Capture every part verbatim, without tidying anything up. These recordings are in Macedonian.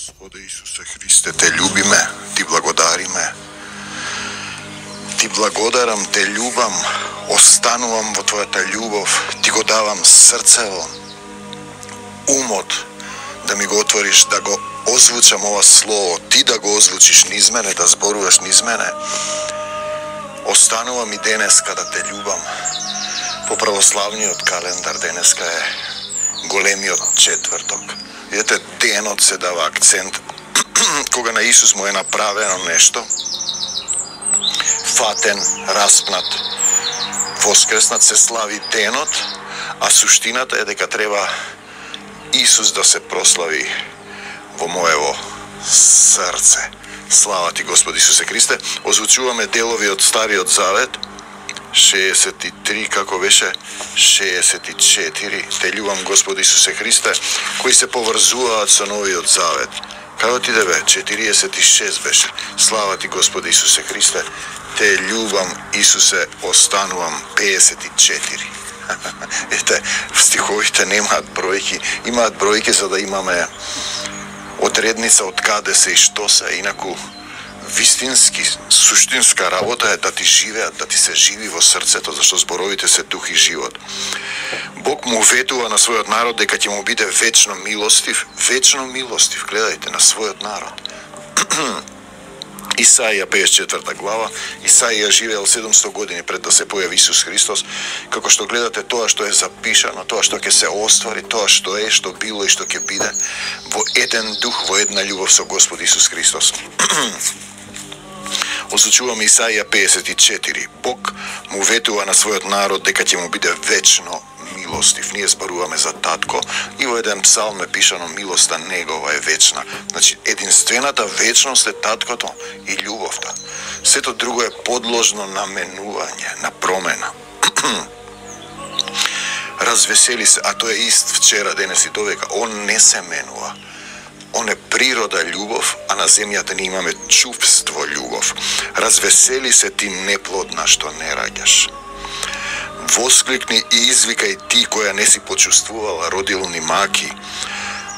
Господе Исусе Христе, Те љубиме, Ти благодариме. Ти благодарам, Те љубам, останувам во Твојата љубов, Ти го давам срцево, умот, да ми го отвориш, да го озвучам ова слово, Ти да го озвучиш низ мене, да зборуваш низ мене. Останувам и денеска да Те љубам. По православниот календар денеска е големиот четврток. Видете, денот се дава акцент кога на Исус му е направено нешто, фатен, распнат, воскреснат, се слави денот, а суштината е дека треба Исус да се прослави во моево срце. Слава Ти, Господи Исусе Христе. Озвучуваме делови од Стариот Завет, шеесет и три, како беше, шеесет и четири. Те љубам, Господи Исусе Христе, кои се поврзуваат со Новиот Завет. Како ти да бе? четириесет и шест беше. Слава Ти, Господи Исусе Христе. Те љубам, Исусе, останувам, пеесет и четири. Ете, стиховите немаат бројки, имаат бројки за да имаме одредница од каде се и што се, инаку вистински, суштинска работа е да ти живеат, да ти се живи во срцето, зашто зборовите се дух и живот. Бог му ветува на својот народ дека ќе му биде вечно милостив, вечно милостив, гледајте, на својот народ. Исаија пеесет и четврта глава, Исаија живеел седумсто години пред да се појави Исус Христос, како што гледате тоа што е запишано, тоа што ќе се оствари, тоа што е, што било и што ќе биде, во еден дух, во една љубов со Господ Исус Христос. Озвучуваме Исаија пеесет и четири. Бог му ветува на својот народ дека ќе му биде вечно милостив. Ние зборуваме за татко и во еден псалм е пишано милоста негова е вечна. Значи, единствената вечност е таткото и љубовта. Сето друго е подложно на менување, на промена. Развесели се, а тој е ист вчера, денес и довека. Он не се менува. Он е природа љубов, а на земјата ние имаме чувство љубов. Развесели се ти неплодна што не раѓаш. Воскликни и извикај ти која не си почувствувала родилни маки,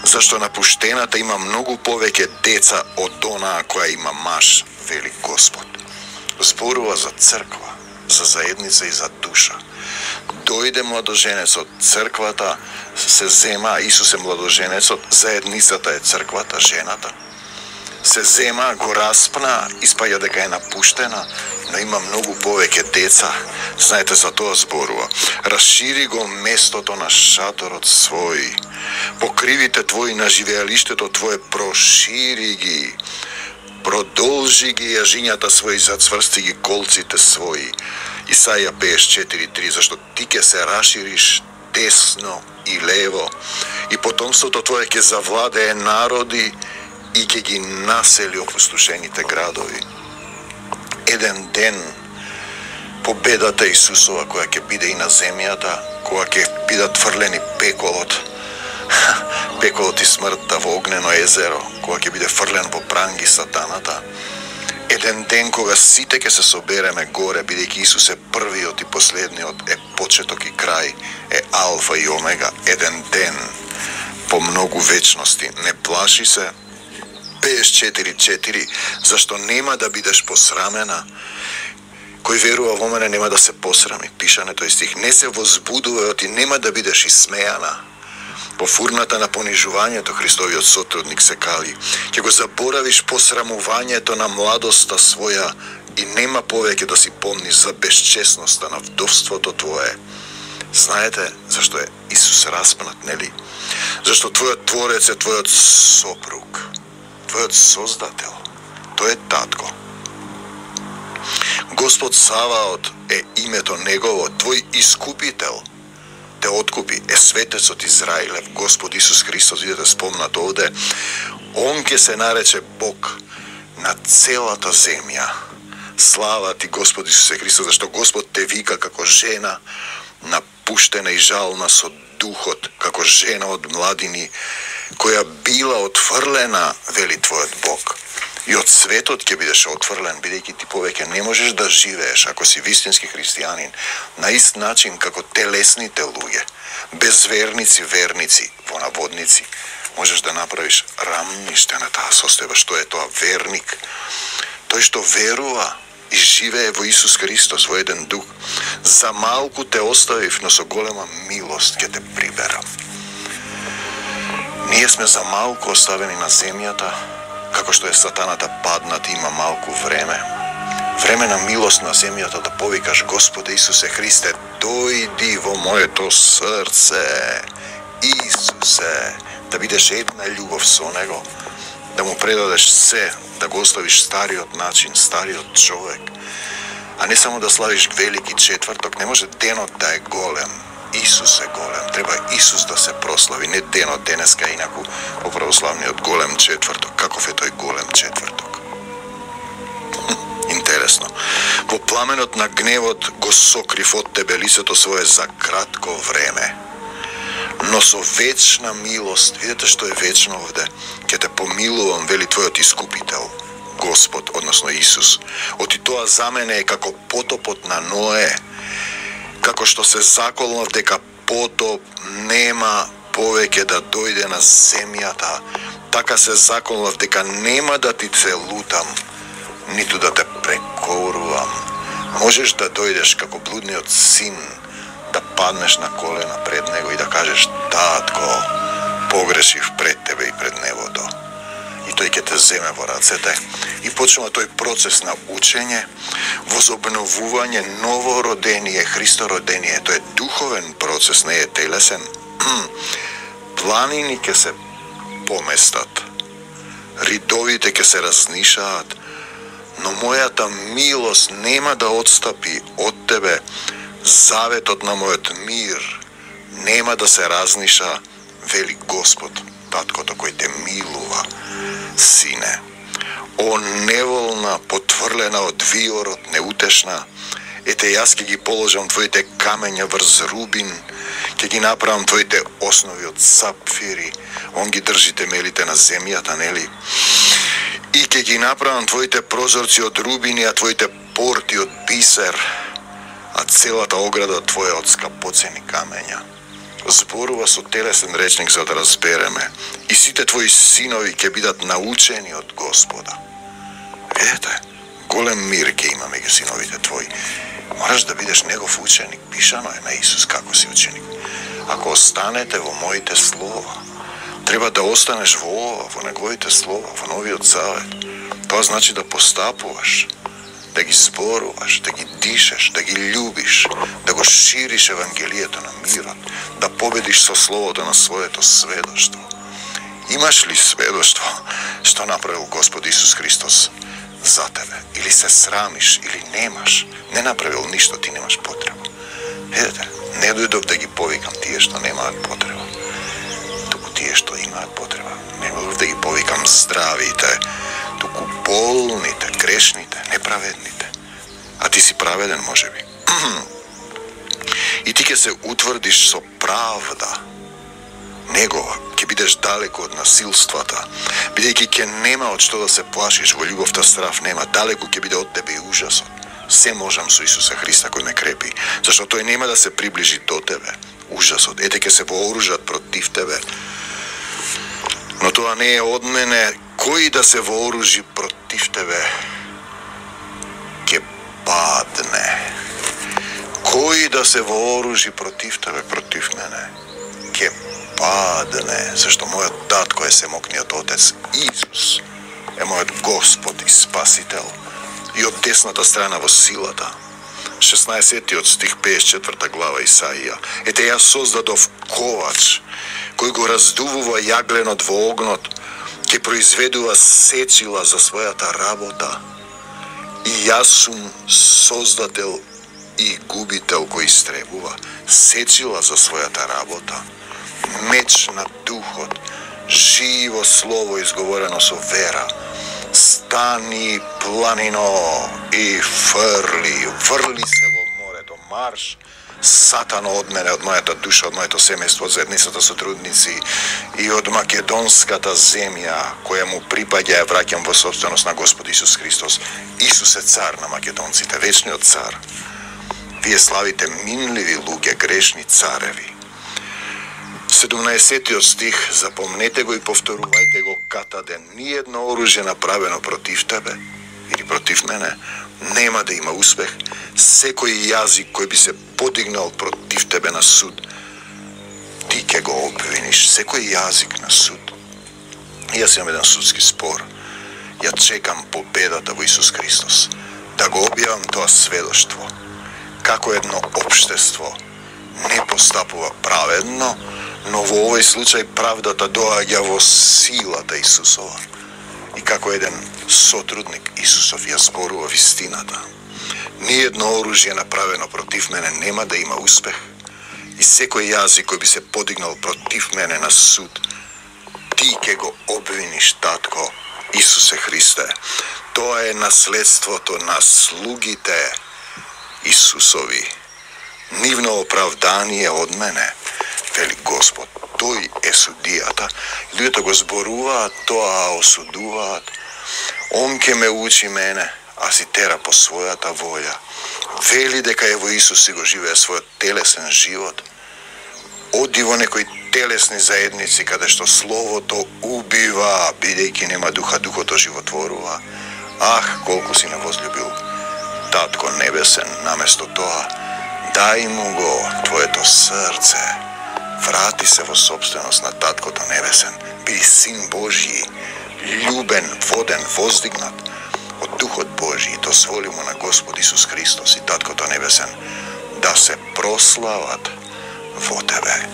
зашто напуштената има многу повеќе деца од онаа која има маж, вели Господ. Зборува за црква, за заедница и за душа. Дојде младоженецот, црквата се зема, Исус е младоженецот, заедницата е црквата, жената. Се зема, го распна, испаја дека е напуштена, но има многу повеќе деца. Знаете, за тоа зборува. Расшири го местото на шаторот свој. Покривите твои на живеалиштето твое, прошири ги. Продолжи ги јажињата своји, зацврсти ги колците своји. Исаија пеесет и четири три, зашто ти ќе се расшириш десно и лево, и потомството твое ќе завладее народи и ќе ги насели опустошените градови. Еден ден победата Исусова која ќе биде и на земјата, кога ќе бидат фрлени пеколот, пеколот и смртта во огнено езеро, кога ќе биде фрлен во пранги сатаната. Еден ден кога сите ќе се собереме горе, бидејќи Исус е првиот и последниот, е почеток и крај, е алфа и омега. Еден ден по многу вечности. Не плаши се. пеесет и четири четири, зашто нема да бидеш посрамена. Кој верува во мене нема да се посрами. Пишане тој стих. Не се возбудувај, оти нема да бидеш исмејана. Во фурната на понижувањето Христовиот сотрудник се кали. Ќе го заборавиш посрамувањето на младоста своја и нема повеќе да си помниш за безчестноста на вдовството твое. Знаете зашто е Исус распнат, нели? Зашто твојот Творец е твојот сопруг, твојот Создател. Тој е татко. Господ Саваот е името негово, твој искупител. Те откупи, е светецот Израилев, Господ Исус Христос, видите спомнат овде. Он ќе се нарече Бог на целата земја. Слава Ти, Господ Исусе Христос, зашто Господ те вика како жена напуштена и жална со духот, како жена од младини, која била отфрлена, вели твојот Бог. И од светот ќе бидеш отфрлен, бидејќи ти повеќе не можеш да живееш, ако си вистински христијанин, на ист начин како телесните луѓе, безверници, верници, во наводници, можеш да направиш рамниште на таа состојба. Што е тоа? Верник. Тој што верува и живее во Исус Христос, во еден дух. За малку те оставив, но со голема милост ќе те приберам. Ние сме за малку оставени на земјата, како што е сатаната паднат, има малку време. Време на милост на земјата да повикаш: Господе Исусе Христе, дојди во моето срце. Исусе, да бидеш една љубов со Него, да му предадеш се, да го оставиш стариот начин, стариот човек, а не само да славиш велики четврток. Не може денот да е голем. Исус е голем. Треба Исус да се прослави, не денот денеска, инаку по православниот голем четврток. Каков е тој голем четврток? Интересно. Во пламенот на гневот го сокрив од тебе лицето свое за кратко време, но со вечна милост, видете што е вечно овде, ќе те помилувам, вели твојот искупител, Господ, односно Исус. Оти тоа за мене е како потопот на Ное, како што се заколнав дека потоп нема повеќе да дојде на земјата, така се заколнав дека нема да ти целутам, ниту да те прекорувам. Можеш да дојдеш како блудниот син, да паднеш на колена пред него и да кажеш: татко, погрешив пред тебе и пред небото. И тој ќе те земе во рацете и почнува тој процес на учење, возобновување, новородение, Христородение. Тој е духовен процес, не е телесен. Планини ќе се поместат, ридовите ќе се разнишаат, но мојата милост нема да отстапи од тебе, заветот на мојот мир нема да се разниша, вели Господ, таткото кој те милува. Сине, о неволна, потврлена од виорот, неутешна, ете јас ќе ги положам твоите камења врз рубин, ќе ги направам твоите основи од сапфири, он ги држи темелите на земјата, нели? И ќе ги направам твоите прозорци од рубини, а твоите порти од бисер, а целата ограда твоја од скапоцени камења. Зборува со телесен речник за да разбереме. И сите твои синови ќе бидат научени од Господа. Видете, голем мир ќе има меѓу синовите твои. Мораш да бидеш негов ученик. Пишано е на Исус како си ученик. Ако останете во моите слова, треба да останеш во ова, во неговите слова, во новиот завет. Тоа значи да постапуваш, да ги зборуваш, да ги дишеш, да ги љубиш, да го шириш Евангелието на мирот, да победиш со словото на своето сведоштво. Имаш ли сведоштво што направил Господ Исус Христос за тебе? Или се срамиш, или немаш? Не направил ништо, ти немаш потреба. Видете, не дојдов да ги повикам тие што немаат потреба, туку тие што имаат потреба. Не дојдов да ги повикам здравите, туку болните, грешните, неправедните. А ти си праведен, можеби. И ти ќе се утврдиш со правда негова, ќе бидеш далеко од насилствата, бидејќи ќе нема од што да се плашиш, во љубовта страв нема, далеко ќе биде од тебе и ужасот. Се можам со Исуса Христа кој ме крепи, зашто тој нема да се приближи до тебе. Ужасот, ете ќе се вооружат против тебе, но тоа не е од мене. Кој да се вооружи против тебе, ќе падне. Кој да се вооружи против тебе, против мене, ќе падне, зашто мојот татко е семокниот Отец. Исус е мојот Господ и Спасител и од десната страна во силата. шеснаесеттиот стих, петдесет и четврта глава Исаија. Ете јас создадов ковач, кој го раздувува јагленот во огнот, ќе произведува сечила за својата работа. И јас сум создател и губител кој истребува сечила за својата работа. Меч на духот, живо слово изговорено со вера. Стани, планино, и фрли, фрли се во морето, марш, Сатано од мене, од мојата душа, од моето семејство, од заедницата сотрудници и од македонската земја која му припаѓа, ја враќам во собственост на Господ Исус Христос. Исус е цар на македонците, вечниот цар. Вие славите минливи луѓе, грешни цареви. седумнаесеттиот стих, запомнете го и повторувајте го катаде. Ниедно оружје направено против тебе или против мене нема да има успех. Секој јазик кој би се подигнал против тебе на суд, ти ќе го обвиниш. Секој јазик на суд. Јас имам еден судски спор. Ја чекам победата во Исус Христос. Да го објавам тоа сведоштво. Како едно општество не постапува праведно, но во овој случај правдата доаѓа во силата Исусова. И како еден сотрудник Исусов ја зборува вистината. Ниедно оружје направено против мене нема да има успех. И секој јазик кој би се подигнал против мене на суд, ти ќе го обвиниш, татко Исусе Христе. Тоа е наследството на слугите Исусови. Нивно оправдание од мене, вели Господ. Тој е судијата. Луѓето го зборуваат тоа, осудуваат. Он ке ме учи мене, а си тера по својата волја. Вели дека е во Исус си го живее својот телесен живот. Оди во некои телесни заедници каде што словото убива, бидејќи нема духа, духото животворува. Ах, колку си не возлюбил Татко Небесен, наместо тоа, дај му го твоето срце. Врати се во собственост на Таткото Небесен. Биди Син Божји, љубен, воден, воздигнат од Духот Божји и дозволи му на Господ Исус Христос и Таткото Небесен да се прослават во тебе.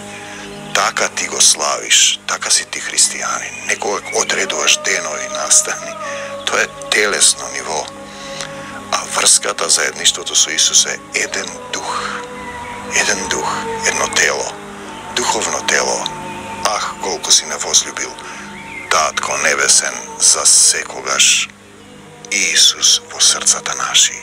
Така ти го славиш, така си ти христијанин. Некогаш одредуваш денови, настани. Тоа е телесно ниво. А врската, заедништвото со Исус е еден дух. Еден дух, едно тело. Духовно тело. Ах, колку си не возлюбил Татко Небесен за секогаш Исус во срцата наши.